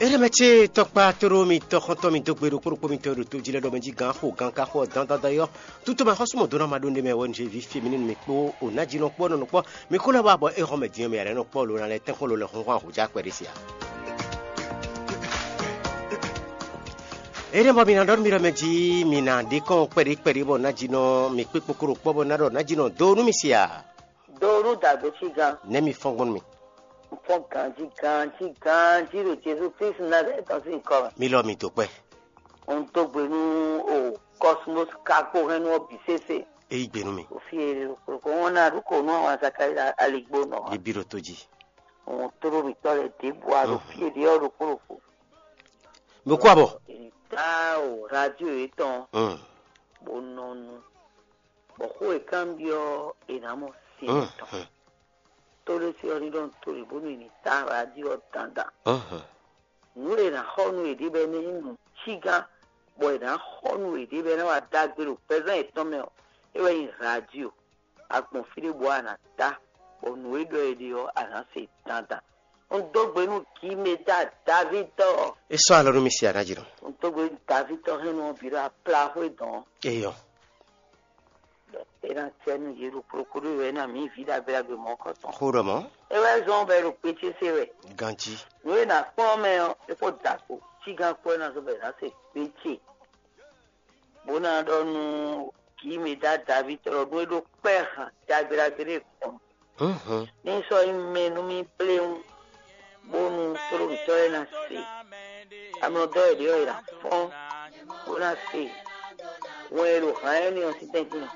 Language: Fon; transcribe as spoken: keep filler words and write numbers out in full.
Éɖɛmɛ ce tɔkpa tóɖó mi tɔxɔntɔn mi dó gbe ɖokpó ɖokpó mitɔn e ɖo to jí lɛ́ɛ ɖɔ mɛ jí gǎn xo gǎn ka xo ɔ́ dandandan é ɔ́, tutoma xɔ́súmɔ dó ná ma ɖó ndé mɛ wɛ un zé ví fí mi nú mi kpó o ná jí nɔ kpó ɔ́ nɔ nɔ kpɔ́ mi kó lɛ́ wá bɔ é hɔn mɛ din ɔ́ mi ǎ lɛ́ nɔ kpɔ́ lo ná lɛ́ tɛ́nkpɔ́n lo lɛ́ hɔn hɔn ahǒjá kpɛɖé se ǎ. Éɖɛ́ bɔ mi ná ɖɔ nú mi ɖɔ mɛ jí mi ná ɖe kɔn kpɛɖé kpɛɖé bɔ ná jí nɔ mi kpé kpokoro kpɔ́ bɔ ná ɖɔ ná jí nɔ dó nú mi se ǎ. Do nú dǎgbé cí gán. Nɛ́ mi fɔ́n gbɔn nú mi. Un fɔ́n ganjí ganjí ganjí ɖo Jezu Kristu Nazalɛ́ti tɔn sín nyǐkɔ mɛ. Mi lɔ mi dó kpɛ́. Un dó gbe nú o Cosmos Kakpo hɛn nú ɔ́ bǐ sésé. É yí gbe nú mi. O fí e ko wọn ná ɖu ko nú àwọn Zakaria aligbó nɔ. Yé bí ɖo tó jí. Un tló mǐtɔn lɛ ɖěbǔ a ɖo fí e ɖě ɔ́ ɖokpó ɖokpó. Mi kú abɔ. Èyí tá o radio yětɔn. Bó nɔ nu. Bɔ xó e kanbyɔ́ è nǎ mɔ sin tɔn. Tó ɖé sí ɔ́ ní ɖɔ nú to ɖě bónú è ní tá radio ɔ́ dandan. Nǔ e è nǎ xɔ nú yěɖée bɔ é ná nyí nǔ cígán, bɔ è nǎ xɔ nú yěɖée bɔ é ná wá dó agbe ɖo gbɛzán yětɔn mɛ ɔ́, é wɛ nyí radio. A gbɔn fí ɖé bɔ a nǎ tá, bɔ nǔ e ɖɔ è ɖe ɔ́, a nǎ se dandan. Un dó gbe nú Gimeda Davítɔ́. É sɔ́ alɔ nú mi se aɖájínɔ. Un dó gbe nú Davítɔ́ hɛn nú ɔ́ bǐ ɖo aplaxwé dɔn. Eyɔ. É ná cɛ nú yě ɖo kplokplo ɖé wɛ ná mǐ vǐ ɖagbe ɖagbe mɔ̌kɔtɔn. Xó ɖɔ mɔ̌. É wɛ zɔ́n bɔ é ɖo kpé ce se wɛ. Ganjí. Nǔ e nǎ kpɔ́n mɛ ɔ́, é kó da kpo. Cígán kpɔ́ é ná zɔ́n bɔ è nǎ se kpé ce. Bó ná ɖɔ nú Gimeda Davítɔ́ ɖɔ nú é ɖó kpɛ́ han ɖagbe ɖagbe ɖé gbɔn. Ní sɔ́ nyí mɛ nú mì pléwún, bónú tlólǒtɔ́ lɛ́ɛ ná se. Amlɔdɔ́ e ɖě ɔ́ è nǎ fɔ́n, bó ná se wɛn e ɖo hǎn énɛ́ ɔ́ sín tɛ́ntin.